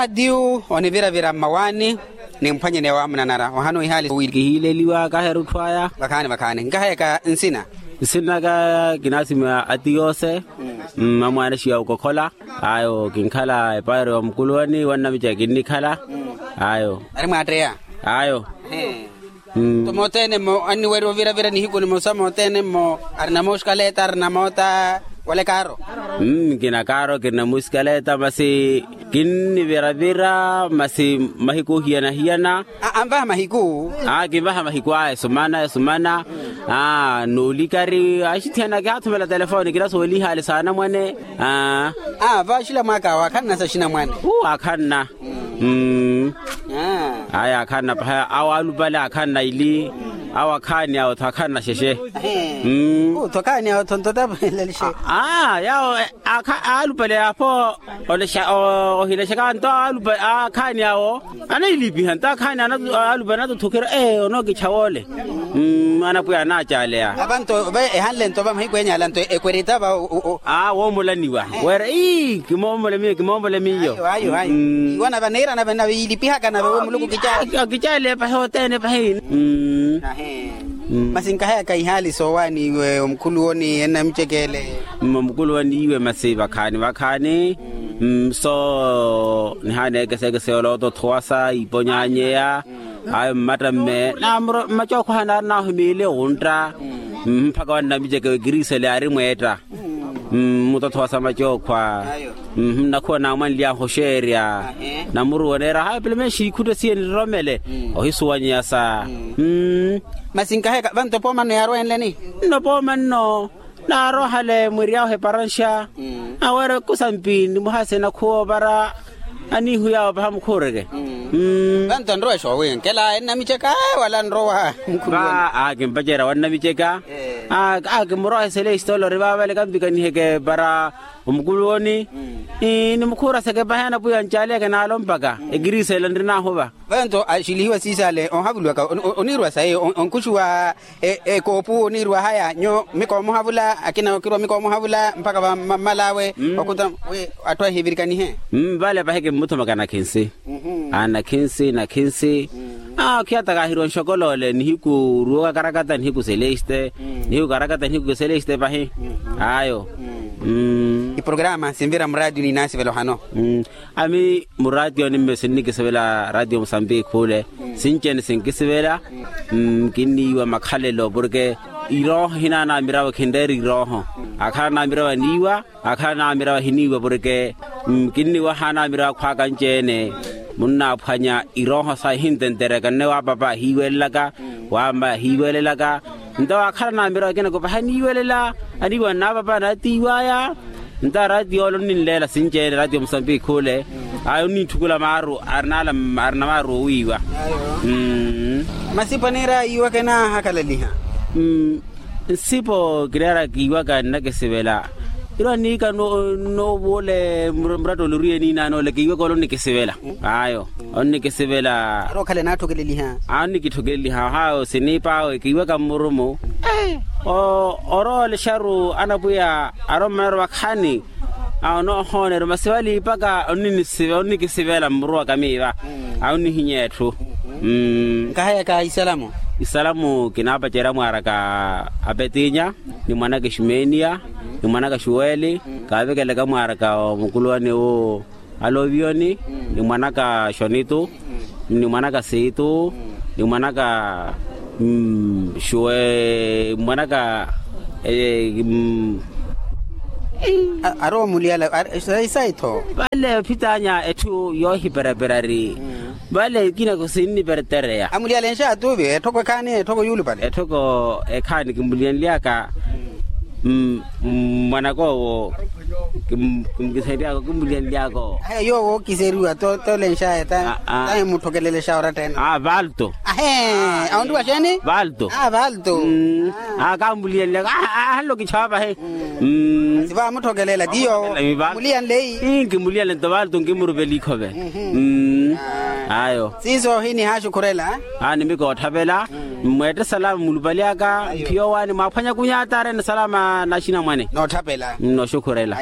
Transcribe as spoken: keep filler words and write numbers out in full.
Atiyu oniviravira mmawaani, nimphwanyene waamunanara ohana ohihaali wi kihiileliwa kaherutthu aya. Vakhaani vakhaani nkahayaka nsina. Nsinaka kinasima atiyose. Mmamwaana xiya okokhola. Ayo kinkhala epairo ya mukuluwani wannamica kinnikhala. Ayo. Ari mwaatteya. Ayo. Nto mothene mmo anniwerya oviravira nihiku nimosa mothene mmo. Arina moosikaleta arina moota wala ekaaro. Nkinakaaro kirina moosikaleta masi kinniviravira masi mahiku ohiyana-hiyana. Anvaha mahiku. Kinvaha mahiku aya esumana esumana. Noolikari axithiyana kihathumela telefoni kinasoolihaali saanamwane. Vaaxila mwaaka awo akhanna saxinamwane. Akhanna. Aya akhanna paha awo alupale akhanna ili. Awo akhaani awo tho akhanna xexe. Tho akhaani awo tho ntotapwelelixe. Yawo alupale apo. Ohilexaka nto alupale akhaani awo anailipiha nto akhaani alupale anatothokera. Onookicha woole. Anapwiya anaacaleya. Ava nto ehanle nto va mahiku enyala nto ekwerita va. Woomolaniwa. Weera ii kimoomola miyo kimoomola miyo. Iwo nave niira nave nave yiilipihaka nave wo muluku kicaale. Kicaale pahi othene pahi. Masi nkahayaka ihaali soowaani iwe omukhuluwoni ennamicekele. Mmamukuluwani iwe masi vakhaani vakhaani. Mso nihaana ekesekese yoloota othowasa iponyanyeya. Ayo mmatta mme mmacookho hanaari naahumiile wuntta. Mpakha wannamiceke wekiriisele ari mweetta. Mmutothowasa macookhwa. Nnakhuwa naamwanly'ahu oxeerya. Namuruwa oneera hayi pelemeexi ikhutta siye niroromele. Ohisuwanyeyasa. Masi nkaheka vanto pooma nno yaarowa enleni. Nno pooma nno. Naaroohale mwiry'ahu eparanxa. Aweera ekusampi nimuhase nakhuwa opara. Aniihu yaawo paha mukhuureke. Vanto nrowa exoowinkela ennamiceka wala nrowa. Kimpacerya wannamiceka. Kimurowa eselexi tolori vaavale kampikaniheke para omukuluwoni. Nimukhuuraseke paha anapwiya ncaaliyaka naalo mpaka ekiriisela nrinaahuva. Vanto axilihiwa siisale ohavuliwaka. Oniirwa sayi onkuxuwa. Ekoopu oniirwa haya nyo mikoomoha vula akina okirwa mikoomoha vula mpakha vammal'awe. Okhuta wi atthu ahivirikanihe. Vale pahi kimmuthumaka nakhinsi. Nakhinsi nakhinsi. Okhiyataka ahiriwa nxokoloole nihiku ruwo kakarakata nihiku seleste. Nihiku kakarakata nihiku seleste pahi. Ayo. Iprograma sinvira muraatiyo ninasivela ohano. Ami muraatiyoni mme sinnikisivela raatiyo musambiki khule. Sinci-ene sinkisivela. Kinniiwa makhalelo porke irooho hinaana amirawe khinreera irooho. Akhala naamirawe aniiwa. Akhala naamirawe ahiniiwa porke kinniiwa ahaana amirawe akhwaaka anci-ene. Munnaaphwanya irooho sahi ihintentereka nne waapapa ahiiwelelaka. Waammayi ahiiwelelaka. Nto akhala naamirawe akina kopaha aniiwelela. Aniiwa nnaapapa anaatiiwaya. Nto araatiyo ole onninleela sinci-ene raatiyo musambiki khule. Ayo onninthukula maaru arina maaru owiiwa. Masipo aniira iwaka enaahakalaliha. Nsipo kireera kiiwaka nnakisivela. Iro aniika noovule muratta ole oriye niinaana ole kiiwaka ole onnikisivela. Ayo onnikisivela. Aro okhale naatthokeleliha. Onnikithokeleliha haawo siniip'awe kiiwaka mmurumu. Orowa olexaru anapwiya arowa mmanaro vakhaani. Onoohooneriwa masi vale ipaka onnikisivela mmuruwaka miiva. Onnihinyeya etthu. Nkahayaka isalamu. Isalamu kinaapacerya mwaaraka apetinya, ni mwanaka eximeniya, ni mwanaka xuweli. Kaavekelaka mwaaraka omukuluwani wu alovioni, ni mwanaka xonitu, ni mwanaka siitu, ni mwanaka xuwe mwanaka. Ari omuliyala. Sayi-tho. Vale ophitanya etthu yoohiperapera ari. Vale kinako sinnipertereya. Amuliyala enxaatuvi etthoko ekhaani etthoko yuulupale. Etthoko ekhaani kimbuliyanlyaka. Mwanak'owo kimbuliyanlyaka. Kimbuliyanlyaka owo. Yoowo okiseriwa tolenxaya. Tahi mutthokelelexa oratta ene. Valto. Ahee. Awo nriwa xeeni? Valto. Valto. Akambuliyanlyaka. Ahanle okichapa he. Sivaamuthokelela tiyo. Muliyanle. Nkimuliyanle nto valto nkimurupela ikhove. Ayo. Siiso hini haaxukhurela. Nimikootthapela. Mmweette salama mulupali aka. Mphiya owaani mwaaphwanya kunyataarene salama naxinamwane. Nootthapelela. Nooxukhurela.